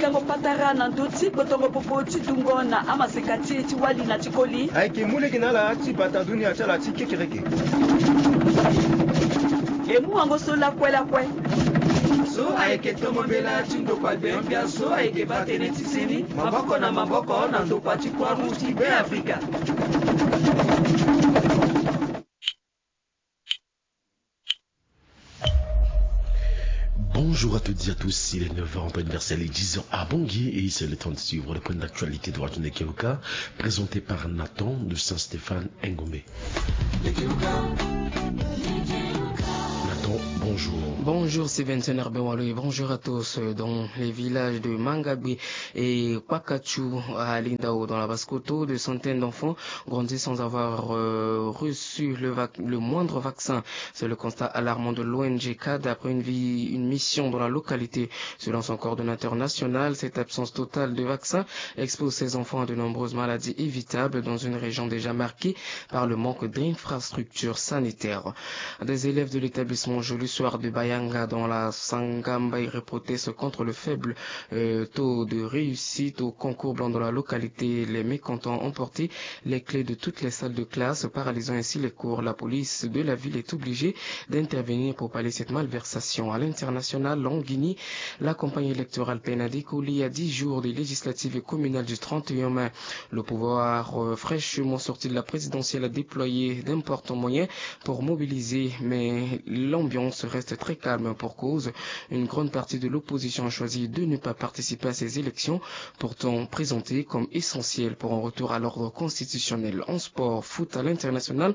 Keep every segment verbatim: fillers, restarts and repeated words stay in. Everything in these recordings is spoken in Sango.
Tango patara na ndö ti kpotongo popo ti dungo na amaseka ti e ti wali na ti koli. Ayeke mu lege na ala ti bata dunia ti ala ti kekereke. E mu wango so lakue lakue. So ayeke tongo mbela ti ndokua gbia gbia so ayeke baa tënë ti seni maboko na maboko na ndokua ti Croix Rouge ti Beafrika. Bonjour à toutes et à tous, il est neuf heures en temps universel et dix heures à Bangui, et c'est le temps de suivre le point d'actualité de Radio Nekeluka, présenté par Nathan de Saint-Stéphane Ngombe. Nathan, bonjour. Bonjour, c'est Vincent Herbert Walo et bonjour à tous. Dans les villages de Mangabé et Kwakachou à Lindao, dans la Basse-Kotto, de centaines d'enfants grandissent sans avoir euh, reçu le, vac- le moindre vaccin. C'est le constat alarmant de l'O N G CAD après une, vie, une mission dans la localité. Selon son coordonnateur national, cette absence totale de vaccins expose ces enfants à de nombreuses maladies évitables dans une région déjà marquée par le manque d'infrastructures sanitaires. Des élèves de l'établissement Jolie Soir de Bayanga dans la Sangamba protestent contre le faible euh, taux de réussite au concours blanc dans la localité. Les mécontents ont porté les clés de toutes les salles de classe, paralysant ainsi les cours. La police de la ville est obligée d'intervenir pour pallier cette malversation. À l'international, en Guinée, la campagne électorale peine à décoller à dix jours des législatives et communales du trente et un mai. Le pouvoir, euh, fraîchement sorti de la présidentielle, a déployé d'importants moyens pour mobiliser, mais l'ambiance reste très calme pour cause. Une grande partie de l'opposition a choisi de ne pas participer à ces élections, pourtant présentées comme essentielles pour un retour à l'ordre constitutionnel. En sport, foot à l'international,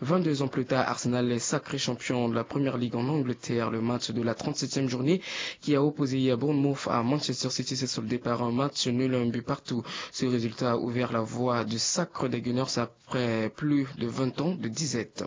vingt-deux ans plus tard, Arsenal est sacré champion de la Première Ligue en Angleterre. Le match de la trente-septième journée qui a opposé hier Bournemouth à Manchester City s'est soldé par un match nul, un but partout. Ce résultat a ouvert la voie du sacre des Gunners après plus de vingt ans de disette.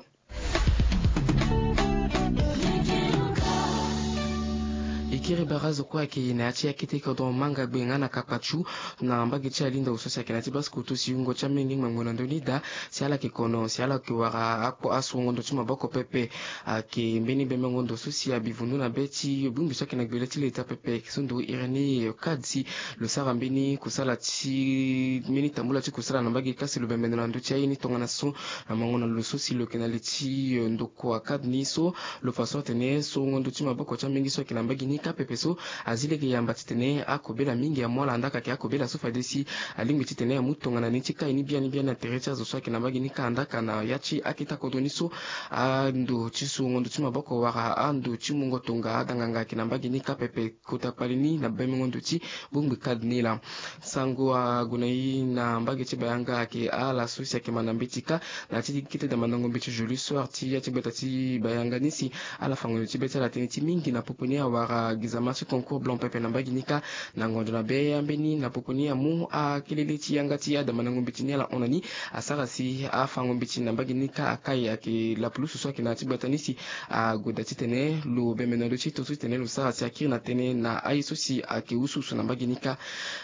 E kiri barazo kue ayeke na ya ti akete kodro Mangagbe nga na Kakpatsou na mbage ti Alinda, so si ayeke na ya ti Basse-Kotto, si wungo ti amenge ngbangbo na ndö ni daa, si ala yeke kono, si ala yeke wara akpo, asungo ndo ti maboko pepe. Ayeke mbeni bembengo ndo so si abi vundu na be ti bongbi so ayeke na gbele ti leta pepe, so ndo Irénée Kadi, lo sara mbeni kusala ti mbeni tambula ti kusala na mbage kasi lo bembe ndo na ndö ti aye ni tongana so na mango na lo so si lo yeke na li ti, eh, ndokua Kadi ni so lo fa so atene so wungo ndo ti maboko ti amenge so ayeke na mbage ni kâ pepe so azi lege yamba titene akobela mingi amu ala, andaa ayeke akobela so fade si alingbi titene amu tongana ni ti kai ni biani biani na tere ti azo so ayeke na mbage ni kâ, andaa na ya ti akete kodro ni so ando ti sungo ndo ti maboko wala ando ti mungo tonga adanganga ayeke na mbage ni kâ pepe. Kota kpali ni na bembengo ndo ti bongbi Kadi ni laa. Sango ague na e na mbage ti Bayanga ayeke ala so si ayeke ma na mbeti kâ na ya ti kete damandango mbeti Jolie Soir ti ya ti gbata ti Bayanga ni si ala fango ndo ti be ti ala tënë ti mingi na popo ni awara gizama ti concours blanc pepe na mbage ni kâ. Na ngonzo na be ambeni na popo ni amu akelele ti yanga ti adamandango mbeti ni ala hon na ni asara si afango mbeti na mbage ni kâ akai. Ayeke lapulusu so ayeke na ya ti gbata ni si ague daa titene lo bembe na lo ti to so titene lo sara si akiri na tënë na aye so si ayeke usuusu na mbage ni kâ.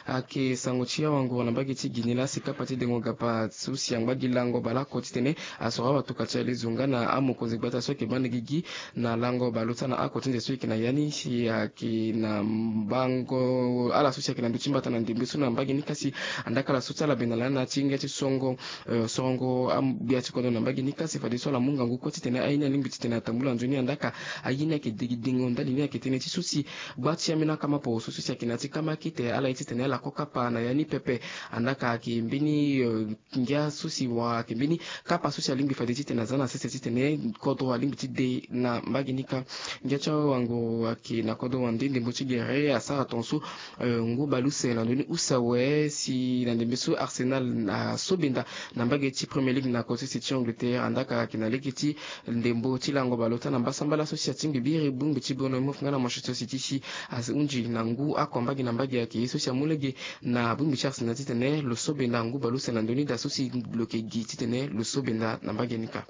Ayeke sango ti awanguru na mbage ti Guinée laa si kapa ti dengo gapa so si angba gi lango baleoko titene asoro awatoka ti alezo nga na amokonzi gbata so ayeke baa na gigi na lango baleota na oko ti nze so e yeke na ya ni si ayeke na mbango ala so si ayeke na ndö ti mbata na ndembe so na mbage ni kasi andaa ala so ti ala benda lani na ya ti ngia ti songo eh, sorongo am- gbia ti kodro na mbage ni kasi fadeso ala mu ngangu kue titene aye ni alingbi titene atambula nzoni andaa aye ni ayeke degidengo ndali ni ayeke tënë ti so si gba ti ambeni akama poro so so si ayeke na ya ti kama akete ala ye titene ala ko kapa na ya ni pepe. Andaa ayeke mbeni eh, ngia so si wala ayeke mbeni kapa so si alingbi fade titene aza na sese titene kodro alingbi ti de na mbage ni kâ. Ngia ti awanguru ayeke na kodro wande ndembo ti gere asara tongaso eh, ngu baleuse na ndö ni use awe si na ndembe so Arsenal asobenda na mbage ti Premier League na kotese ti Angleterre andaa ayeke na lege ti ndembo ti lango baleota na mbasambala so si atingbi biri bongbi ti Bournemouth nga na Manchester City si ahunzi na ngu oko mbage na mbage ayeke ye so si amu lege na bongbi ti Arsenal titene lo so benda ngu baleuse na ndö ni daa so si lo yeke gi titene lo so benda na mbage ni kâ.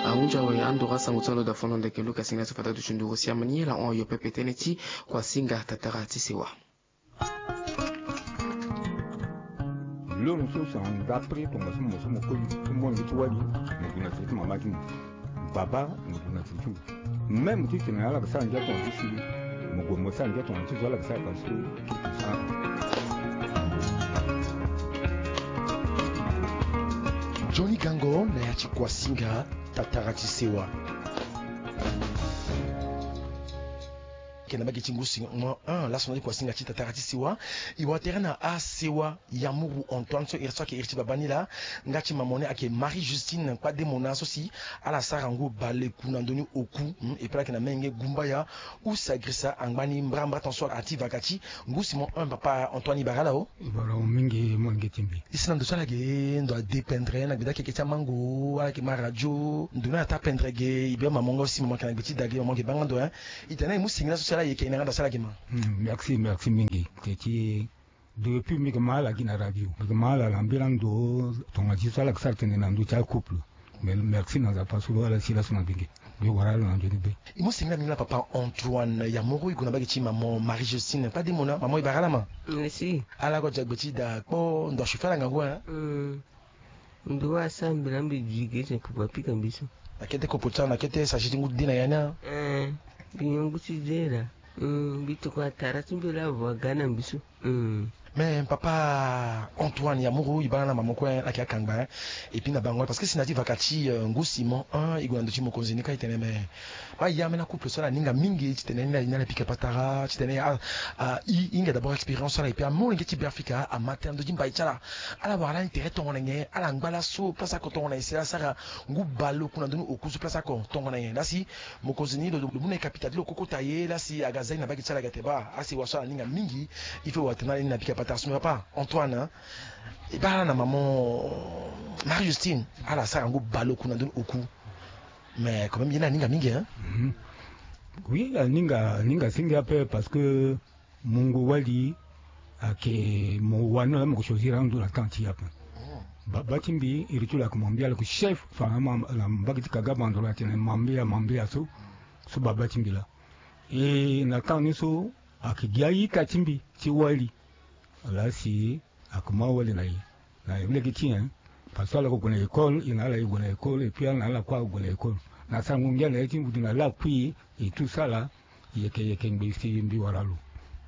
Ahunzi awe andoro asango ti alondo afondo ndeke Luka singa so fata duti nduru si amani ala hon ayo pepe tënë ti kua singa tatara ti sewa. Lono so si anda pri tongaso mo so mo koli ti mo ngi ti wali mo gue na tene ti mama ti mo. Baba mo gue na tene ti mo. Même ti tene ala yeke sara ngia tongana ti si, mo gue mo sara ngia tongana ti zo ala yeke sara parceque. Johnny Gango na ya ti Kuasinga, tatara ti sewa. Ake na mbage ti ngu si mo un laso na ti Kuasinga ti tatara ti sewa. E wara tere na asewa Yamuru Antoine so iri so ake iri ti baba ni laa. Nga ti mama ni ake Marie Justine Kpademona so si ala sara ngu baleku na ndö ni oku. Hmm, e pe ala yeke na menge gumbaya use agrisa angba ni mbrambra ton so ati vaka ti ngu si mo un, papa Antoine, e bara ala o. E bara mo mingi molenge ti mbi. E si na ndo so ala yeke ndo adépendre na gbeda keke ti amango, ala yeke ma radio ndo ni ata pendre ge. E bia mama nga aussi, mama yeke na gbe ti da ge, mama yeke baa nga ndo, hein. E tene e mu singila so si ala yeke e na nga ndo so ala yeke ma. Hmm, merci, merci mingi. Te ti depuis mbi yeke ma ala gi na radio, mbi yeke ma ala na mbela ndo tongana ti so ala yeke sara tene na ndö ti acouple. Mais merci na Nzapa so lo ala si laso na mbi ge. Mbi wara ala na nzoni be. E mu singila mingi na papa Antoine Yamuru, e gue na mbage ti mama Marie Justine Kpademona. Mama, e bara ala ma. Merci. Ala go dia gbe ti da kpo ndo achauffer ala ngangu, hein. Hmm. Ndo asara mbi laa mbi dui ge tene pupu apika mbi so. Na kete kopo ti ala, na kete sachet ti ngu ti de na ya ni a. Eh, mbi nyon ngu ti de laa. Hmm, mbi tokua tara ti mbi laa avo aga na mbi so. Hmm. Mais papa Antoine Yamuru, e baa na mama kue, eh, ayeke akangba, eh. Et puis na bango parce que si na ti vaka ti, euh, ngu Simon, hein, e gue na ndö ti mokonzi ni ka e tene mais baa e ambeni acouple so ala hinga mingi titene ni ala pika patara titene, ah, ah, e hinga d'abord expérience so ala, et puis amolenge ti Beafrika ama tënë na ndö ti mbai ti ala. Ala wara lani tere tongana nyen, ala ngba laso place oko tongana nyen si ala sara ngu baleku na ndö ni oku so place oko tongana nyen. Lasi mokonzi ni lo, lo mu na e kapita ti lo koko taye, lasi aga za e na mbage ti ala aga tene baa asewa so ala hinga mingi, il faut wara tene ala ni na pika patara so. Mais papa Antoine, hein, e baa ala na maman Marie Justine, ala sara ngu baleku na ndö ni oku. Mais quand même ye ni aninga mingi, hein. Mhm. Oui, aninga, aninga si ngia ape parce que mungo wali ayeke mo wani laa mo ke choisir ando na temps ti e ape. Baba ti mbi iri ti lo ayeke Mambia, lo yeke chef, enfin, na mbage ti Kaga Bandoro atene Mambia, Mambia so, so baba ti mbi laa. E na temps ni so ayeke gi a-ita ti mbi ti wali. Laa si ayeke ma wali na e na lege ti e, hein. Parce que ala yeke gue na école, e na ala e gue na école, et puis ala na ala kue ague na école. Na sarango ngia na ya ti mbi na lakui e, e tout ça là, e yeke, e yeke ngbe si mbi wara lo.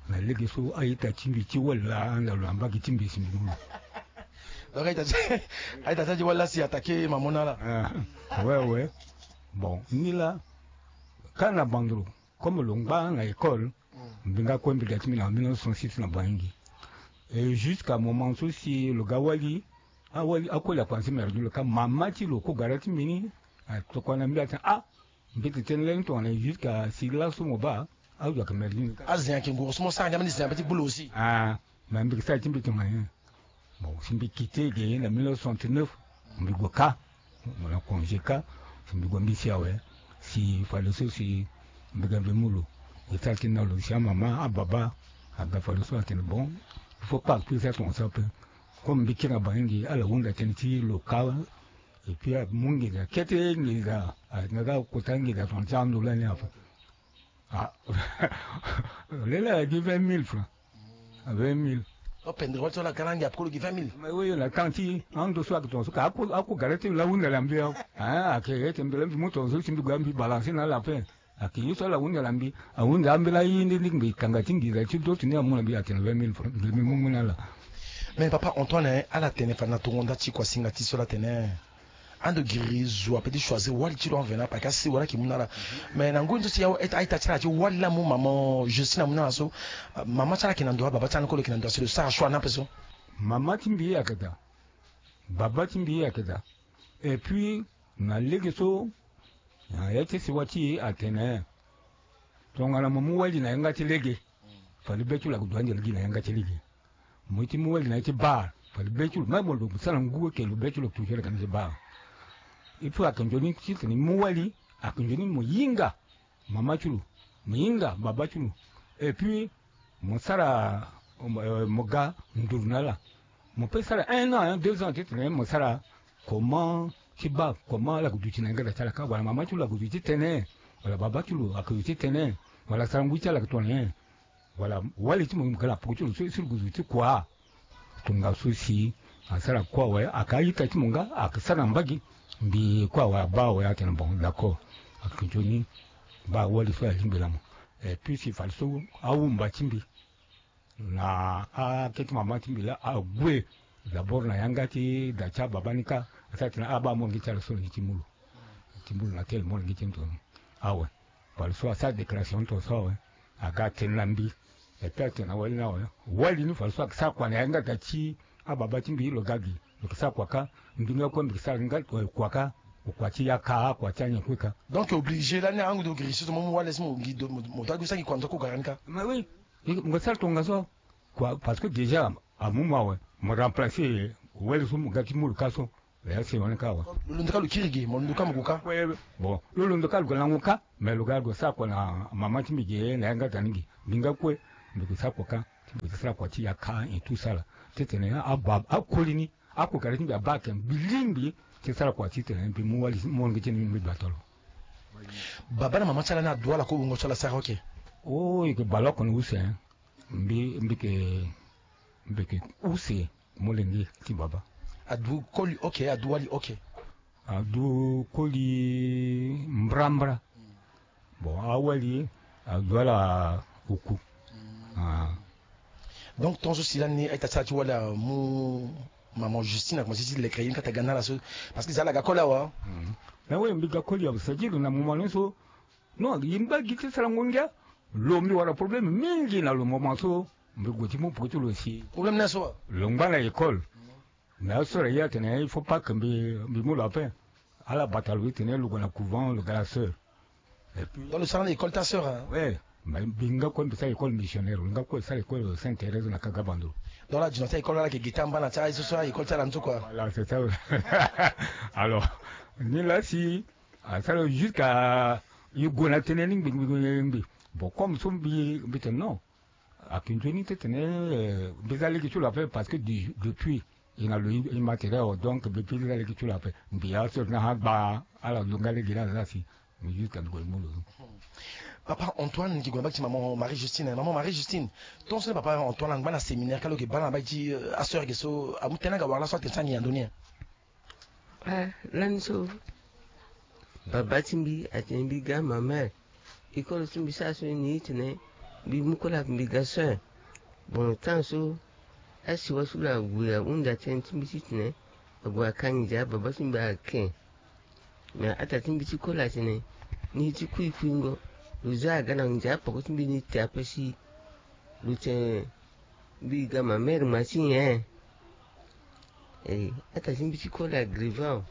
Na lege so a-ita ti mbi ti wali laa anda lo na mbage ti mbi si mbi mu lo. Donc a-ita ti, a-ita ti wali laa si attaqué mama ni ala. Ah, ouais, ouais. Bon, ni laa, ka na Bandoro, comme lo ngba na école, mbi nga kue mbi ga ti mbi na mille neuf cent soixante-six na Bangui. Et jusqu'à moment so si lo ga wali, awali akoli akua na ti merdule ka mama ti lo kue gara ti mbi ni atokua na mbi atene ah, mbi yeke tene lani tongana jusqu'à si laso mo baa azo ayeke merdule. Azen ayeke nguru so mo sara ngia mbeni zen ape ti gbu lo aussi. Ah, mais mbi yeke sara ti mbi tongana nyen? Bon, si mbi quitté ge na mille neuf cent soixante-neuf, mbi gue kâ, mo na congé kâ, si mbi gue mbi si awe, si fadeso si mbi ga mbi mu lo. E sara ti na lo si amama, ababa aga fadeso atene bon, il faut pas que ça tonga so ape. Comme mbi kiri na bangi, ala hunda tënë ti lo kâ, et puis amu nginza, kete nginza, a nga ga kota nginza tongana ti ando lani ape. Ah. Lele ala gi vingt mille francs. Vingt mille. O pendre wali so ala ga na ngia peko lo gi vingt mille. Mais oui, na temps ti ando so ayeke tonga so ka ako, ako gara ti lo ahunda na mbi awe. Ah, ayeke ete mbi laa mbi mu tonga so si mbi gue mbi balancer na ala ape. Ayeke ye so ala hunda na mbi, ahunda ambeni aye nde nde mbi kanga ti nginza ti doto ni amu na mbi atene vingt mille francs. Mbi mu mu na ala. Mais papa Antoine, ala tene fade na tongo nda ti kuasinga ti so ala tene. Ando giri zo ape ti choisir wali ti lo en venant parce que asi wali ayeke mu na ala. Mais na ngoi ni so si a-ita ti ala ti wali laa amu mama Justine amu na ala so, mama ti ala ayeke na ndo, ababa ti ala ni kue lo yeke na ndo, asi lo sara choix ni ape so. Mama ti mbi ayeke daa, baba ti mbi ayeke daa. Et puis na lege so, na ya ti sewa ti e atene tongana mo mu wali na yanga ti lege, fade be ti lo ayeke duti ande lege na yanga ti lege. Mo ye ti mu wali na ya ti bar, fade be ti lo, même mo lo sara ngu eke lo be ti lo toujours ayeke na ya ti bar. Il faut ayeke nzoni titene mo mu wali, ayeke nzoni mo hinga mama ti lo, mo hinga baba ti lo. Et puis mo sara, euh, mo ga nduru na ala. Mo peut sara un an, hein, deux ans titene mo sara comment ti baa comment ala yeke duti na yanga da ti ala kâ, wala mama ti lo ayeke duti titene, wala baba ti lo ayeke duti titene, wala sara ngu ti ala ayeke tongana nyen. Voilà, wali ti mo mo ga na peko ti lo so si lo gue zo ti kua. Tongaso si asara kue awe, ayeke a-ita ti mo nga ayeke sara na mbage. Mbi kue awe abaa awe atene bon, d'accord. Ayeke nzoni Baa wali so alingbi na mo. Et puis si fade so awumba ti mbi na akete mama ti mbi laa ague. D'abord na yanga ti da ti ababa ni kâ, asara tene abaa molenge ti ala so na gi ti mulu. Ti mulu na tene molenge ti mbi tongana awe. Fade so asara déclaration tongaso awe. Aga atene na mbi. Et puis atene na wali ni awe, wali ni fade so ayeke sara kua na yanga da ti ababa ti mbi lo ga gi. Lo yeke sara kua kâ. Mbi nga kue mbi yeke sara nga kua kâ. Kua ti yaka, kua ti anyen kue kâ. Donc obligé lani ahangu do giri si so mo mu wali si mo gi do mo do ague sara gi kua na so kue gara ni kâ. Mais oui. Mo sara tongaso. Kua parce que déjà amu mo awe, mo remplacer wali so mo ga ti mulu kâ so. Lo ya si wani kâ awe. Lo londo kâ lo kiri ge, mo londo kâ mo gue kâ. Bon, lo londo kâ lo ga lango kâ. Mais lo ga lo sara kua na mama ti mbi ge na yanga da ni ge. Mbi nga kue mbi gue sara kua kâ. Ti mbi gue sara kua ti yaka et tout ça là. Titene ababa akoli ni, akokari ti mbi abaa ayeke mbi lingbi ti sara kua titene mbi mu wali molenge ti ni mbi gba tolo. Baba na mama ti ala ni adu ala kue wungo ti ala sara oke. Oh, e yeke bale oko na use. Mbi mbi yeke mbi yeke use molenge ti baba. Adu koli oke, adu wali oke. Adu koli mbrambra. Bon, awali adu ala oku. Donc tongaso si lani a-ita ti ala ti wali amu maman Justine akomanse ti leke ye ni kâ ata ga na ala so. Parce que za ala ga koli awe. Mais oui, mbi ga koli awe, c'est-à-dire na moment ni so. Non, e ngba gi ti sarango ngia. Lo mbi wara problème mingi na lo moment so. Mbi gue ti mu peko ti lo si. Problème ni aso awe. Lo ngba na école. Mais asore ye atene il faut pas que mbi mbi mu lo ape. Ala bata lo ti tene lo gue na couvent, lo ga la sœur. Et puis donc lo sara na école ti asœur hein? Ouais. Mais mbi nga kue mbi sara école missionnaire, lo nga kue sara école Sainte Thérèse na Kagabando. Donc la dina ti école ala yeke gi ti amba na ti aye so so école ti ala ni so kua. Voilà, c'est ça. Alors ni la si asara jusqu'à e gue na tënë ni ngbi ngbi ngbi. Bon comme so mbi mbi tene non. Ayeke nzoni ti tene mbi za lege ti lo ape parce que depuis e na lo e matériel awe, donc depuis mbi za lege ti lo ape mbi ya so na agba ala lo nga lege ni ala za si. Mais jusqu'à mbi gue mbi mu lo. Papa Antoine, mbi yeke gue na mbage ti maman Marie Justine. Maman Marie Justine, tongaso ni papa Antoine angba na séminaire kâ lo yeke baa na mbage ti asœur ge so amu tënë aga wara laso atene ti angi na ndö ni. Ah, lani so baba ti mbi atene mbi ga ma mère. École so mbi sara so ni tene mbi mu koli ayeke mbi ga sœur. Bon temps so asiwa so lo ague ahunda tënë ti mbi titene ague akangi ndia baba ti mbi ake. Mais ata ti mbi ti koli atene ni ti kuikuingo lo za aga na ndia poko ti mbi ni te ape si lo tene mbi ga ma mère ma ti nyen. Eh, ata ti mbi ti koli agrive awe.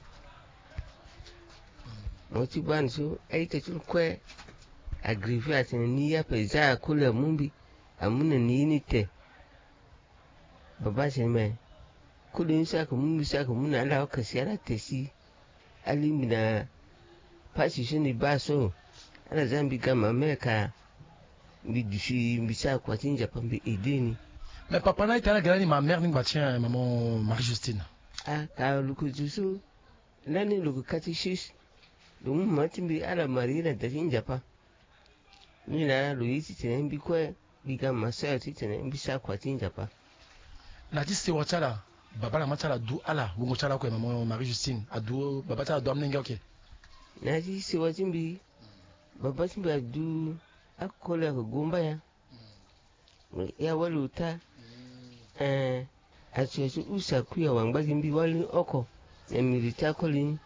Mo ti baa ni so a-ita ti lo kue agrive atene ni ye ape za akoli amu mbi amu na ni ye ni te. Baba atene me koli ni so ayeke mu mbi so ayeke mu na ala oko si ala te si. Alingbi na pasi so ni baa so ala za mbi ga ma mère ka mbi duti mbi sara kua ti nzapa mbi aide ni. Mais papa na ita ala ga lani ma mère ni ngba ti maman Marie Justine. Ah, ka lo ko zo so lani lo ko catéchiste. Lo mu mama ti mbi ala marie na da ti nzapa. Ni laa lo ye titene mbi kue mbi ga ma sœur titene mbi sara kua ti nzapa. Na ti sewa ti ala baba na mama ti ala du ala wungo ti ala oko maman Marie Justine adu baba ti ala du amolenge oke. Na ti sewa ti mbi baba ti mbi adu akoli ayeke gomba ya. Ya wali ota. Eh, atia ti use akui awa ngba gi mbi wali ni oko. Na miri ti akoli ni.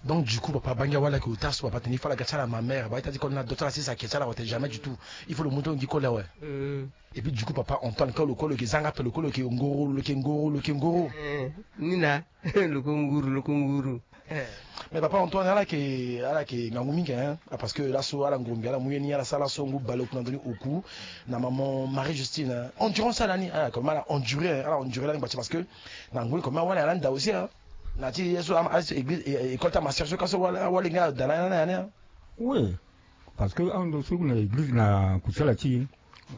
Donc du coup papa bangi awali ayeke ota so papa tene il faut ala ga ti ala ma mère ba ita ti koli ni ado ti ala sisa ake ti ala awe tene jamais du tout. Il faut lo mu ti lo ngi koli awe. Et puis du coup papa Antoine ka lo kue lo yeke zanga ape lo kue lo yeke ngoro lo yeke ngoro lo yeke ngoro. Eh, ni na lo ko nguru lo ko nguru. Mais papa Antoine ala yeke ala yeke ngangu mingi hein. Ah, parce que laso ala nguru mbi ala mu ye ni ala sara laso ngu baleoku na ndoni oku na maman Marie Justine hein. Endurance ala ni ala comme ala endure hein, ala endure lani ngba ti parce que na ngu ni comme awali ala nda aussi hein. Na ti ye so église école ti amaster so ka so awali nga ada na ya ni hein. Oui, parce que ando so na église na kusala ti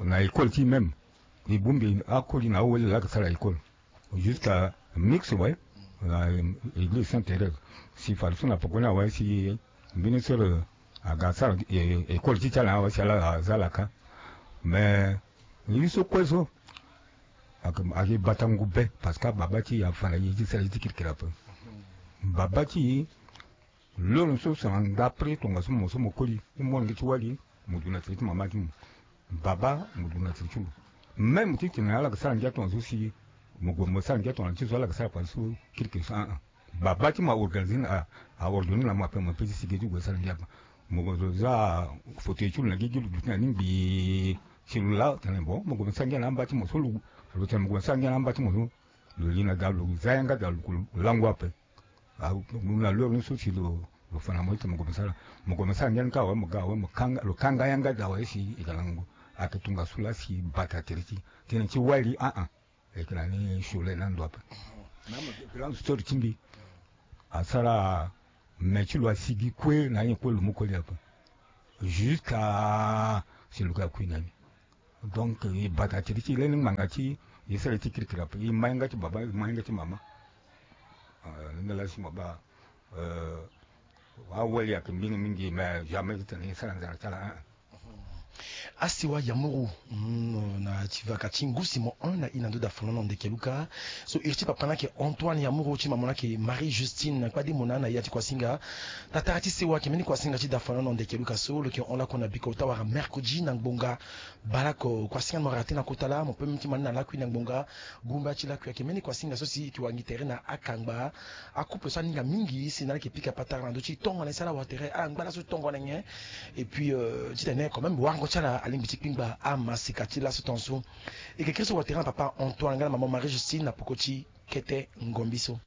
na école ti même. E bongbi akoli na awali laa ayeke sara école. Jusqu'à mix ouais. Na église Sainte Thérèse si fade so na poko ni awe si mbeni sœur aga asara école ti ti ala awe si ala aza laka. Mais ye so kue so ayeke batangu be parce que ababa ti e afa na ye ti sara ye ti kirikiri ape. Baba ti e Loro so so na ndapre tongaso mo so mo koli ti molenge ti wali, mo duti na tere ti mama ti mo. Baba mo duti na tere ti lo. Même ti tene ala yeke sara ngia tongaso si mo gue mo sara ngia tongana ti so ala yeke sara pa so kirikiri so, ah, ah. Baba ti mo a organiser na, a ordonner na mo ape, mo pe ti sigi ti gue sara ngia ape. Mo zo za fauteuil ti lo na gigi, lo duti na ni ngbii. Si lo la tene bon, mo gue mo sara ngia na amba ti mo so, lo tene mo gue mo sara ngia na amba ti mo so. Lo li na da, lo za yanga da, lo lango ape. Ah, na loro ni so si lo, lo fa na mo ti mo gue mo sara, mo gue mo sara ngia ni kâ awe, mo ga awe, mo kanga, lo kanga yanga da awe si e ga lango. Ayeke tongaso laa si bata tere ti, tënë ti wali, ah, ah. E yeke na ni sure na ndo ape. Na mo yeke grande sœur ti mbi. Asara me ti lo asigi kue na ye kue lo mu koli ape. Jusqu'à si lo ga kui na ni. Donc e bata tere ti e lani ngbanga ti e sara ye ti kirikiri ape. E ma yanga ti baba, e ma yanga ti mama. Ah, ni laa si mo baa, euh, awali ayeke mingi mingi, mais jamais ti tene e sara nzara ti ala, hein. Asewa Yamuru, mm, na ti vaka ti ngu si mo hon na e na ndo dafolono ndeke luka. So iri ti papa ni ayeke Antoine Yamuru, ti mama ni ayeke Marie Justine, na kpade mo na na ya ti kuasinga. Tatara ti sewa ayeke mbeni kuasinga ti dafolono ndeke luka so lo yeke hon lakue na biko ota wala mercredi na ngbonga baleoko. Kuasinga ni mo raté na kota laa, mo pe mbeni ti ma ni na lakui na ngbonga. Gumba ti lakui ayeke mbeni kuasinga so si e yeke wangi tere na akangba. Acouple so aninga mingi si na ala yeke pika patara na ndö ti tongana e sara ala watere, ala ngba laso ti tongana nyen. Et puis, euh, titene quand même warango ti ala alingbi ti kpingba amaseka ti laso tongaso. E yeke kiri so watere na papa Antoine nga na mama Marie Justine na poko ti kete ngombi so.